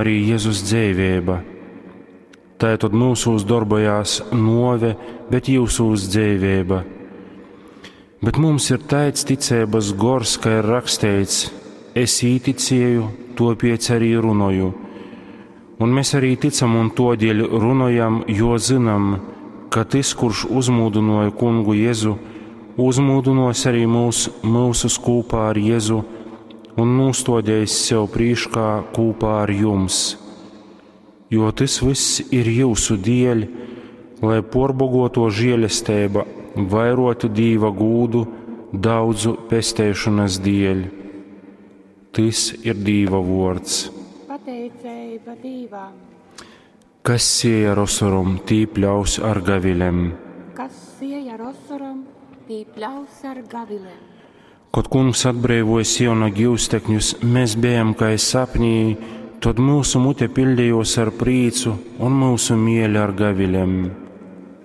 Arī Jezus dzeiveiba. Tai tod myusūs dorbojās nuove, bet jyusūs dzeiveiba. Bet mums ir taids ticeibas gors, ka ir raksteits: Es īticēju, topiec arī runoju. Un mēs arī ticam un todēļ runojam, jo zinam, ka tys, kurš uzmūdinoja kungu Jezu, uzmūdinos arī mūs, mūsus kopā ar Jezu un nostodējis sev prīškā kopā ar jums. Jo tas viss ir jūsu dēļ, lai porbogoto žēlestība vairotu Dīva gūdu daudzu pestēšanas dēļ. Tas ir Dīva vārds. Pateiceiba Dīvam. Kas sēja ar osorom, tī pļaus ar gavilem. Kas sēja ar osorom, tī pļaus ar gavilem. Kad kungs atbrīvoja Siona givstekņus, mēs bijām kā sapnī, tad mūsu mute pildījos ar prīcu un mūsu mieļa ar gavilem.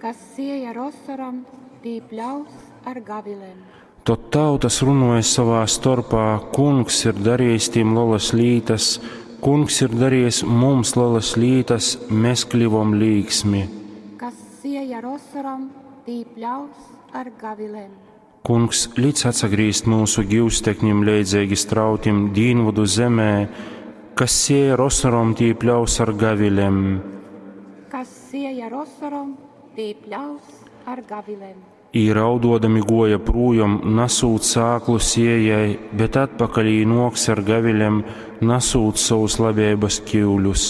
Kas sēja ar osorom, tī pļaus ar gavilem. Tad tautas runoja savā starpā, kungs ir darījis tiem lielas lītas, kungs ir darījis mums lielas lītas, mēs kļuvom līksmi. Kas sēja ar osorom, tī pļaus ar gavilem. Kungs lic atsagrīzt mūsu givstekņim leidzīgi strautim dīnvudu zemē, kas sēja ar osorom, tī pļaus ar gavilem. Kas sēja ar osorom, tī pļaus ar gavilem. Ī raudodami goja prūjom, nasūt sāklu sējai, bet atpakaļ ī noks ar gavilem, nasūt savus labības kiuļus.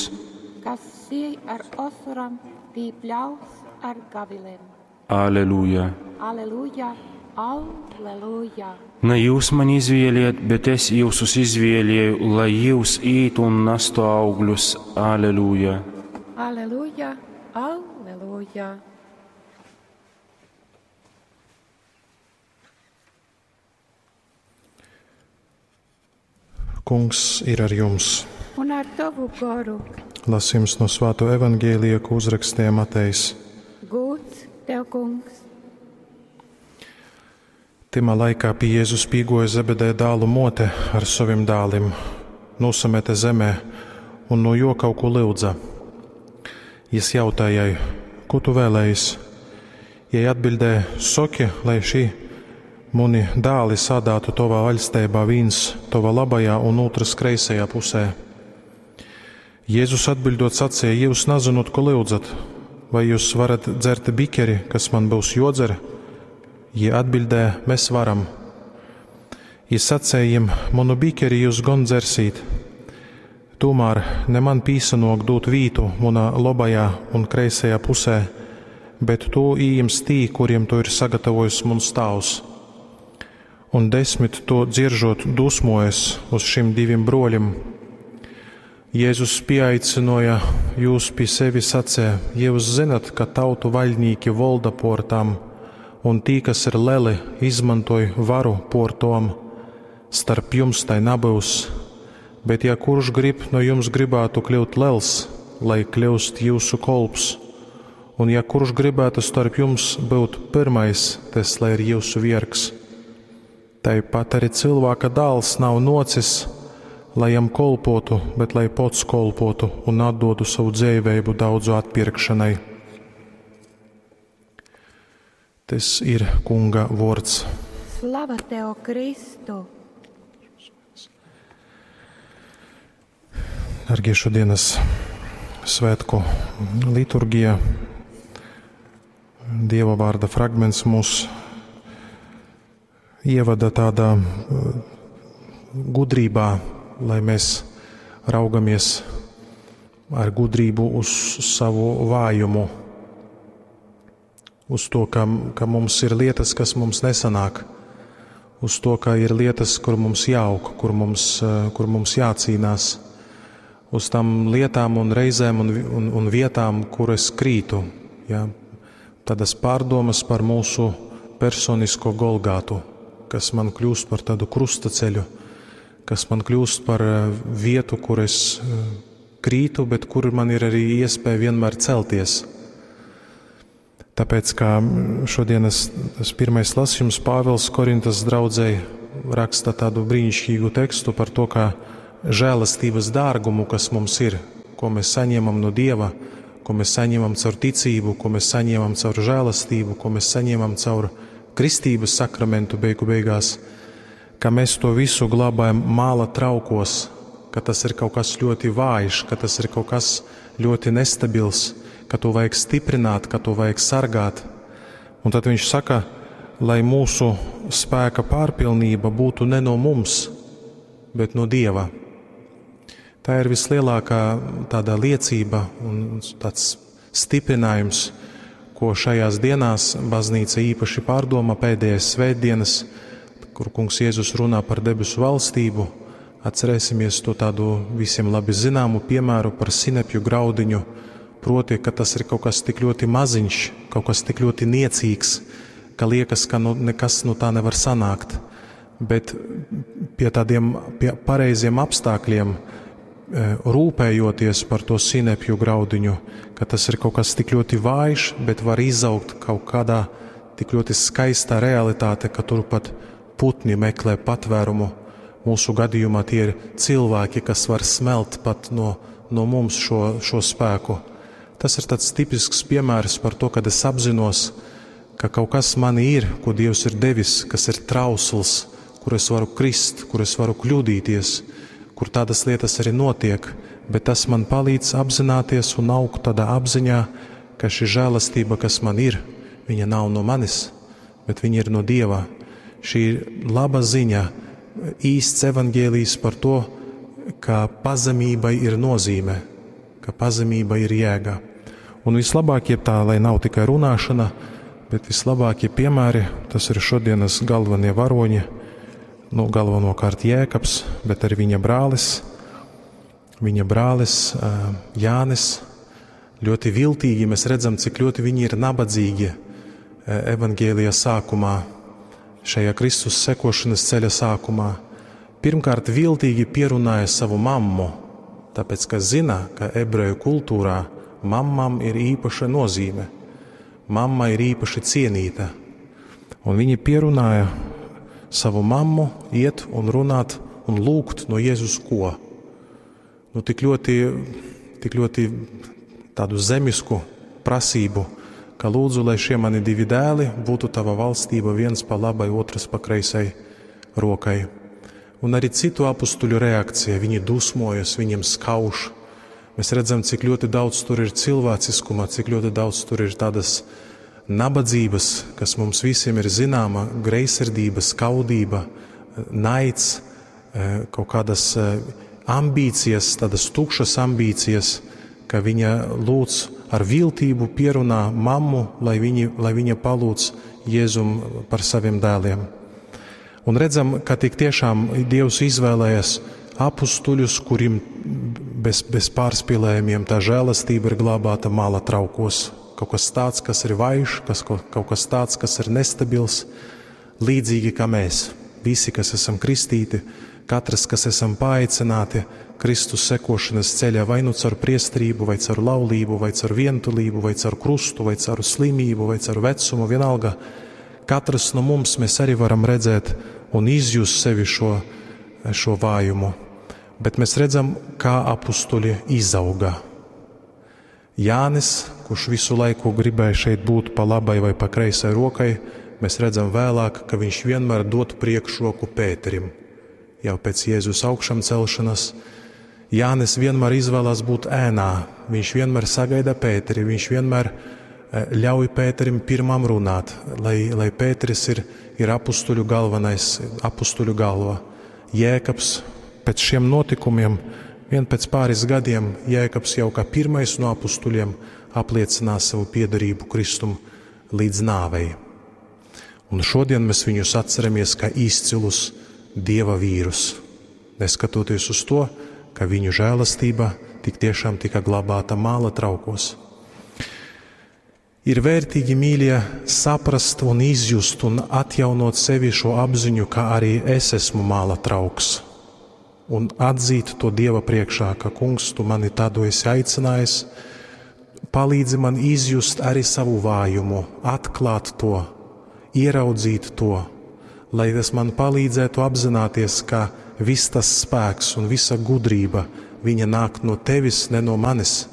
Kas siej ar osorom, tī pļaus ar gavilem. Aleluja! Aleluja, aleluja! Ne jūs mani izvēliet, bet es jūsus izvēlēju, lai jūs ītu un nastu augļus. Aleluja! Aleluja, aleluja! Kungs ir ar jums. Un ar tavu goru. Lasījums no Svāto evaņģēlija, ko uzrakstīja Matejs. Gūts tev, kungs! Timā laikā pie Jēzus pīgoja Zebedē dālu mote ar saviem dālim, nosamete zemē un no jo kaut ko lūdza. Jis jautāja jai, ko tu vēlējies? Jai atbildēja, soki, lai šī muni dāli sādātu tovā vaļstībā vīns tova labajā un otrs kreisajā pusē. Jēzus atbildot sacīja, jūs nezinot, ko lūdzat, vai jūs varat dzert bikeri, kas man būs jodzer? Jie atbildēja, mēs varam. Jis sacīja jiem, manu bikeri jūs gon dzersīt. Tomēr ne man pīsanok dūt vītu munā labajā un kreisajā pusē, bet to ījims tī, kuriem to ir sagatavojis muns tāvs. Un desmit to dzieržot dusmojas uz šim diviem broļiem. Jēzus pieaicināja jūs pie sevi sacīja, jūs zinat, ka tautu vaļnīki volda por tam, un tī, kas ir leli, izmantoj varu por tom. Starp jums tai nabūs, bet ja kurš grib no jums gribētu kļūt lels, lai kļūst jūsu kolps, un ja kurš gribētu starp jums būt pirmais, tas lai ir jūsu viergs. Tāpat arī cilvēka dēls nav nocis, lai jam kolpotu, bet lai pots kolpotu un atdotu savu dzīvību daudzu atpirkšanai. Tas ir Kunga vārds. Slava tev, Kristu! Dargie šodienas svētku liturgija, Dieva vārda fragments mūs ievada tādā gudrībā, lai mēs raugamies ar gudrību uz savu vājumu, uz to, ka, ka mums ir lietas, kas mums nesanāk, uz to, ka ir lietas, kur mums jāaug, kur mums, kur mums jācīnās, uz tām lietām un reizēm un, un, un vietām, kur es krītu. Ja? Tādas pārdomas par mūsu personisko Golgātu, kas man kļūst par tādu krustaceļu, kas man kļūst par vietu, kur es krītu, bet kur man ir arī iespēja vienmēr celties. Tāpēc, kā šodienas tas pirmais lasījums Pāvils Korintas draudzei raksta tādu brīnišķīgu tekstu par to, kā žēlastības dārgumu, kas mums ir. ko mēs saņemam no Dieva, ko mēs saņemam caur ticību, ko mēs saņemam caur žēlastību, ko mēs saņemam caur kristības sakramentu beigu beigās, ka mēs to visu glabājam māla traukos, ka tas ir kaut kas ļoti vājš, ka tas ir kaut kas ļoti nestabils, ka to vajag stiprināt, ka to vajag sargāt. Un tad viņš saka, lai mūsu spēka pārpilnība būtu ne no mums, bet no Dieva. Tā ir vislielākā tāda liecība un tāds stiprinājums, ko šajās dienās baznīca īpaši pārdomā pēdējās svētdienas, kur kungs Jēzus runā par debesu valstību. Atcerēsimies to tādu visiem labi zināmu piemēru par sinepju graudiņu, proti, ka tas ir kaut kas tik ļoti maziņš, kaut kas tik ļoti niecīgs, ka liekas, ka nu, nekas no tā nevar sanākt. Bet pie tādiem pie pareiziem apstākļiem, rūpējoties par to sinepju graudiņu, ka tas ir kaut kas tik ļoti vājš, bet var izaugt kaut kādā tik ļoti skaistā realitāte, ka tur pat putni meklē patvērumu. Mūsu gadījumā tie ir cilvēki, kas var smelt pat no, no mums šo, šo spēku. Tas ir tāds tipisks piemērs par to, kad es apzinos, ka kaut kas manī ir, ko Dievs ir devis, kas ir trausls, kur es varu krist, kur es varu kļūdīties, kur tādas lietas arī notiek, bet tas man palīdz apzināties un augt tādā apziņā, ka šī žēlastība, kas man ir, viņa nav no manis, bet viņa ir no Dieva. Šī ir laba ziņa, īsts evaņģēlijs par to, ka pazemībai ir nozīme, ka pazemība ir jēga. Un vislabākie tā, lai nav tikai runāšana, bet vislabākie piemēri, tas ir šodienas galvenie varoņi, nu, galvenokārt Jēkabs, bet arī viņa brālis, viņa brālis Jānis. Ļoti viltīgi mēs redzam, cik ļoti viņi ir nabadzīgi evaņģēlija sākumā, šajā Kristus sekošanas ceļa sākumā. Pirmkārt, viltīgi pierunāja savu mammu, tāpēc, ka zina, ka ebreju kultūrā mammam ir īpaša nozīme. Mamma ir īpaši cienīta. Un viņi pierunāja savu mammu iet un runāt un lūgt no Jēzus ko? Nu, tik ļoti, tik ļoti tādu zemisku prasību, ka lūdzu, lai šie mani divi dēli būtu tava valstība, viens pa labai, otrs pa kreisai rokai. Un arī citu apustuļu reakcija, viņi dusmojas, viņiem skauž. Mēs redzam, cik ļoti daudz tur ir cilvēciskuma, cik ļoti daudz tur ir tādas nabadzības, kas mums visiem ir zināma, greizsirdība, skaudība, naids, kaut kādas ambīcijas, tādas tukšas ambīcijas, ka viņa lūdz ar viltību pierunā mammu, lai, viņi, lai viņa palūdz Jēzum par saviem dēliem. Un redzam, ka tik tiešām Dievs izvēlējas apustuļus, kuriem bez, bez pārspīlējumiem tā žēlastība ir glabāta mala traukos. Kaut kas tāds, kas ir vājš, kas, kaut kas tāds, kas ir nestabils, līdzīgi kā mēs. Visi, kas esam kristīti, katrs, kas esam paaicināti Kristus sekošanas ceļā, vai nu caur priesterību, vai caur laulību, vai caur vientulību, vai caur krustu, vai caur slimību, vai caur vecumu, vienalga. Katrs no mums mēs arī varam redzēt un izjust sevi šo, šo vājumu. Bet mēs redzam, kā apustuļi izauga. Jānis, kurš visu laiku gribēja šeit būt pa labai vai pa kreisai rokai, mēs redzam vēlāk, ka viņš vienmēr dod priekšroku Pēterim. Jau pēc Jēzus augšām celšanas Jānis vienmēr izvēlās būt ēnā. Viņš vienmēr sagaida Pēteri, viņš vienmēr ļauj Pēterim pirmam runāt, lai, lai Pēteris ir, ir apustuļu galvenais, apustuļu galva. Jēkabs pēc šiem notikumiem, vien pēc pāris gadiem, Jēkabs jau kā pirmais no apustuļiem apliecinās savu piederību Kristum līdz nāvei. Un šodien mēs viņus atceramies kā izcilus Dieva vīrus, neskatoties uz to, ka viņu žēlastība tik tiešām tika glabāta māla traukos. Ir vērtīgi, mīļie, saprast un izjust un atjaunot sevi šo apziņu, ka arī es esmu māla trauks. Un atzīt to Dieva priekšā, ka Kungs, tu mani tādu esi aicinājis, palīdzi man izjust arī savu vājumu, atklāt to, ieraudzīt to, lai tas man palīdzētu apzināties, ka viss tas spēks un visa gudrība, viņa nāk no tevis, ne no manis.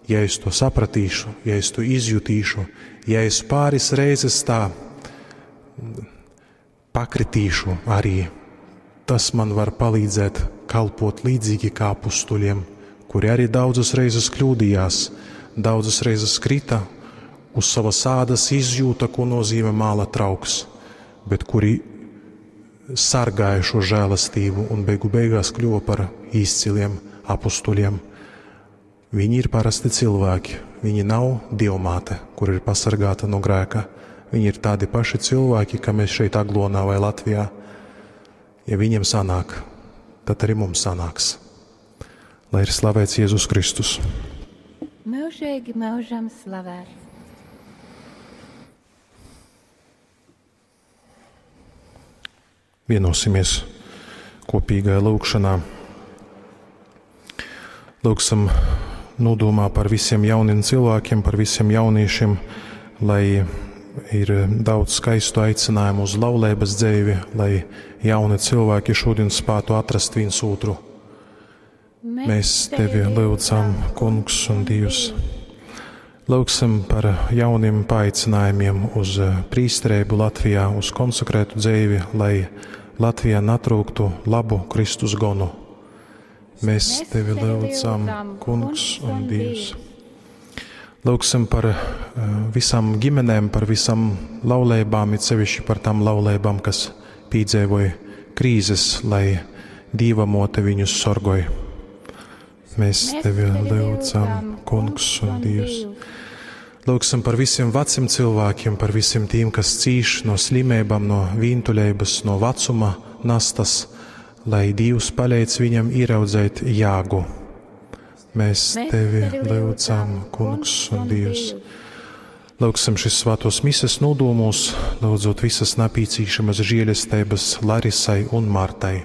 Ja es to sapratīšu, ja es to izjutīšu, ja es pāris reizes tā pakritīšu arī, tas man var palīdzēt kalpot līdzīgi kā apustuļiem, kuri arī daudzas reizes kļūdījās, daudzas reizes krita, uz savas ādas izjūta, ko nozīmē māla trauks, bet kuri sargāja šo žēlastību un beigu beigās kļuva par izciliem apustuļiem. Viņi ir parasti cilvēki, viņi nav dievmāte, kur ir pasargāta no grēka. Viņi ir tādi paši cilvēki, kā mēs šeit Aglonā vai Latvijā. Ja viņiem sanāk, tad arī mums sanāks. Lai ir slavēts Jēzus Kristus. Mūžīgi mūžam slavēts. Vienosimies kopīgajā lūgšanā. Lūgsim nodomā par visiem jauniem cilvēkiem, par visiem jauniešiem, lai ir daudz skaistu aicinājumu uz laulības dzīvi, lai jauni cilvēki šodien spētu atrast viens otru. Mēs tevi lūdzam, Kungs un Dievs. Lūgsim par jauniem paaicinājumiem uz prīsterību Latvijā, uz konsekrētu dzīvi, lai Latvijā netrūktu labu Kristus gonu. Mēs tevi lūdzam, Kungs un Dievs. Lūgsim par visām ģimenēm, par visām laulībām, it sevišķi par tām laulībām, kas piedzīvoja krīzes, lai Dieva mote viņus sorgoj. Mēs tevi lūdzam, Kungs un Dievs. Lūgsim par visiem veciem cilvēkiem, par visiem tiem, kas cīš no slimībām, no vientuļības, no vecuma nastas, lai Dievs palīdz viņam ieraudzēt jāgu. Mēs tevi lūdzam, Kungs un Dievs. Lūgsim šis svētos mises nodomos, lūdzot visas napīcīšamas žēlestības Larisai un Martai.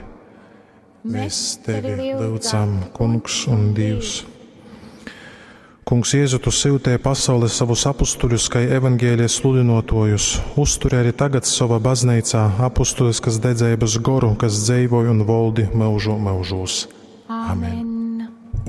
Mēs tevi lūdzam, Kungs un Dievs. Kungs Jēzu, tu sūtīji pasaulē savus apustuļus, kā evaņģēlijas sludinotojus. Uzturi arī tagad savā baznīcā apustuliskas dedzības goru, kas dzīvoja un valdi mūžu mūžos. Amen.